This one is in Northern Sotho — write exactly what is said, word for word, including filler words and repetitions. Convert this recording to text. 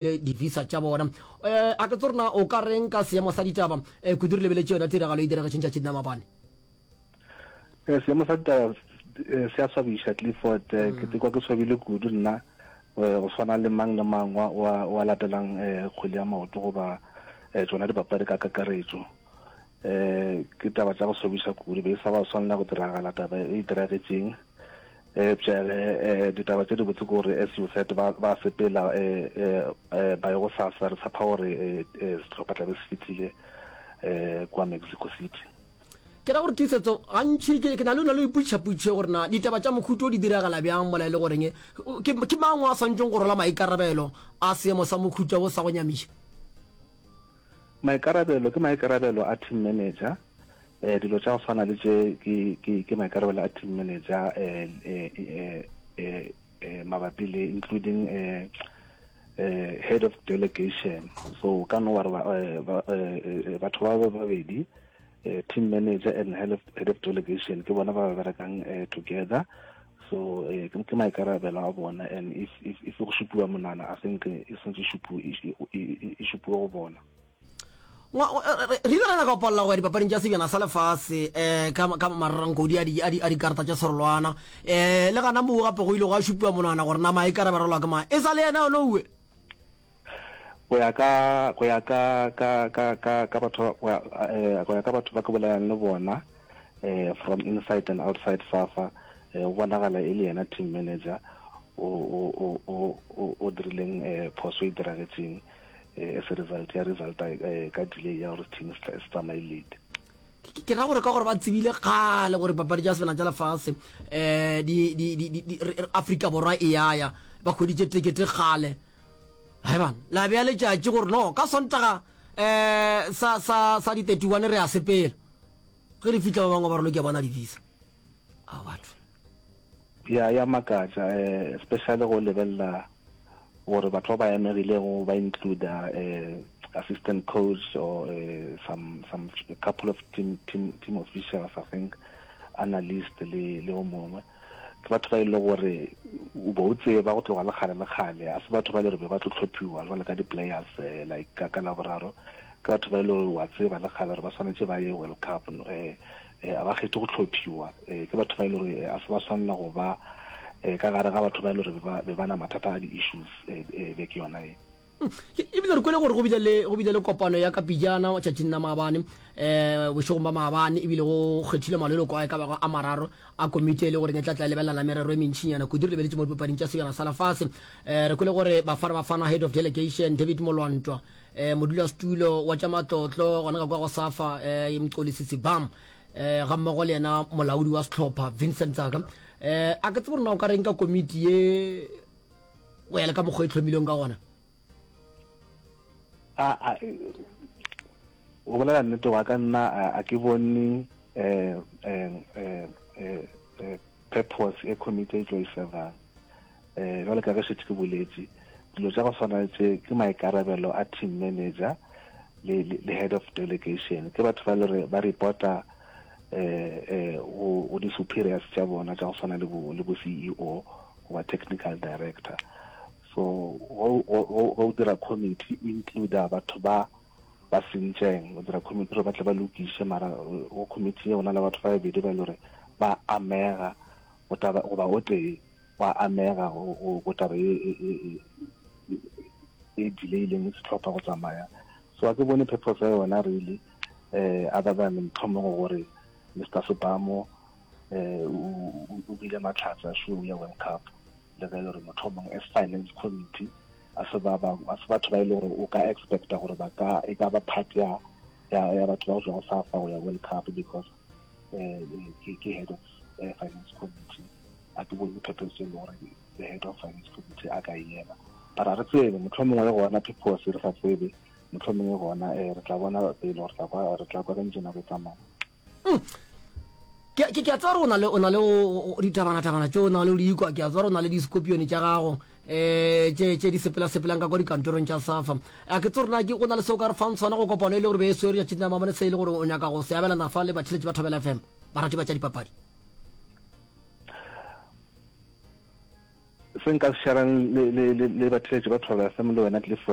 Di-visa tša bona. Um a ke tsebe gore na o ka reng ka seemo sa ditaba um kudu re lebeletše yona tiragalo e diragetšeng tšatšing la maabane. Eh, seemo sa ditaba eh, se a swabiša Clifford. Eh, ke tekwa ke swabile kudu nna eh, go swana le mang le mang wa, wa, wa latelang eh, kgwele ya maoto goba eh, tšona dipapadi ka kakaretšo. Eh, ke taba tša go swabiša kudu, be e sa ba swanela go diragala taba e diragetšeng. Eupša ge ditaba tše dibotse ke gore as you said ba ba sepela ba ye go sasa, re tshepa gore sehlopha tla be se fihlile kua Mexico City. Ke ra gore Tiisetso, gantši ke, ke na le, na le go ipotšiša potšišo gore na ditaba tša mohuta wo di diragala bjang mola e le goreng ke, ke mang o a swanetšeng go rwala maikarabelo a seemo sa mohuta wo sa go nyamiša? Maikarabelo ke maikarabelo a team manager. Eh, dilo tša go swana le tše ke, ke, ke maikarabelo a team manager eh, eh, eh, eh, eh, mabapi le including eh, eh, head of delegation. So ka no wa re ba, eh, ba, eh, eh, batho ba ba babedi eh, team manager and head of, head of delegation ke bona ba ba berekang eh, together. So eh, ke, ke maikarabelo a bona and if, if, if go šupiwa monwana I think e swantse e šupiwe, e, e, e šupiwe go bona. Re ile ra nyaka go palela go ya dipapading tša Sebjana sa Lefase um ka, ka mararankodi a, di, a, di, a dikarata tša serolwana. Um le gana moo gape go ile gwa šupiwa monwana gore na maikarabelo ke mang. E sa le yena Onoue. Go ya ka, go ya ka, ka, ka, ka, ka batho, go ya, eh, go ya ka batho ba ke bolelang le bona, eh, from inside and outside SAFA, eh, go bonagala e le yena team manager o, o, o, o, o dirileng, eh, phoso e diragetšeng. As a result ya result ka delay ya gore team se tsamaye late. Ke ra gore ka gore ba tsebile kgale gore papadi tša sebena tša lefase um di di di di Afrika Borwa e ya ya ba hweditše tekete kgale. Hai bana, la bea letšatši gore no ka Sontaga um sa sa sa di thirty one re a sepela. Ge re fihla ba bangwe ba re lo ke bona di-visa. A batho. Ya ya makatša eh, especially go lebelela gore batho ba ba amegilego ba include eh, assistant coach or eh, some some a couple of team team team officials I think analyst le le o mongwe ke batho ba e le gore o bo o tseba go tloga le kgale le kgale a se batho ba le gore be ba tlo tlhophiwa jwale ka di-players eh, like ka ka Laboraro ke batho ba e le gore wa tseba le kgale gore ba swanetše ba ye World Cup eh, eh, a ba kgethe go tlhophiwa eh, ke batho ba e le gore a se ba swanela go ba eh, ka gare ga batho ba e le gore be ba na mathata a di-issues eh, eh, beke yona e. Ebile re kwele gore go bile le go bile le kopano ya ka pejana tšatšing la maabane um bošegong ba maabane ebile go kgethile maleloko a e ka bago a mararo a komiti e le gore e tla tla lebelelana merero e mentšinyana kudu re lebeletše mo dipapading tša sebjana sa lefase. Um re kwele gore Bafana Bafana head of delegation David Molwantwa, um modulasetulo wa tša matlotlo gona ka kwa go SAFA um Mxolisi Sibam, um ga mmogo le yena molaodi wa sehlopha Vincent Tsaka. Um a ke tsebe gore na o ka reng ka komiti ye go ya le ka mokgwa e hlomilweng ka gona. A a go bolela nnete wa ka nna a ke bone eh eh eh eh purpose e committee e tlo e servang. Eh jwale ka ge šetše ke boletše dilo tša go swana le tše ke maikarabelo a team manager le le head of delegation ke batho ba le re ba reporta eh eh go go di superiors tša bona tša go swana le bo le bo C E O goba technical director. So go go go dira committee o include batho ba ba sentšeng o dira committee gore ba tle ba lokiše mara go committee go na le batho ba babedi ba e le gore ba amega go taba goba o tee wa amega go go taba e e e e delayileng sehlopha go tsamaya. So a ke bone purpose ya yona really eh other than mohlomongwe gore Mister Sebamo eh o bile mahlatse a show ya World Cup le ge e le gore mohlomongwe as finance committee a se ba ba a se batho ba e le gore o ka expecta gore ba ka e ka ba part ya ya ya batho ba go tswa go SAFA go ya World Cup because eh ke ke head of eh, finance committee. A ke bone purpose e le gore the head of finance committee a ka e ema, but a re tsebe mohlomongwe gona purpose re sa tsebe mohlomongwe gona eh re tla bona pele gore tla kwa re tla kwa ka ntse nako e tsamaya. Ke ke a tseba gore o na le o na le ditabana-tabana tše o na le o di ikwa, ke a tseba gore o na le di-scorpion tša gago um tše tše di sepela-sepelang ka kwa dikantorong tša SAFA. A ke tsebe gore na ke go na le se o ka re fang sona go kopano e le gore be e swere tšatšing la maabane se e le gore o nyaka go se abelana fa le batheeletši ba Thobela F M, barati ba tša dipapadi. Se nka se sharang le le le le batheeletši ba Thobela F M le wena Clifford,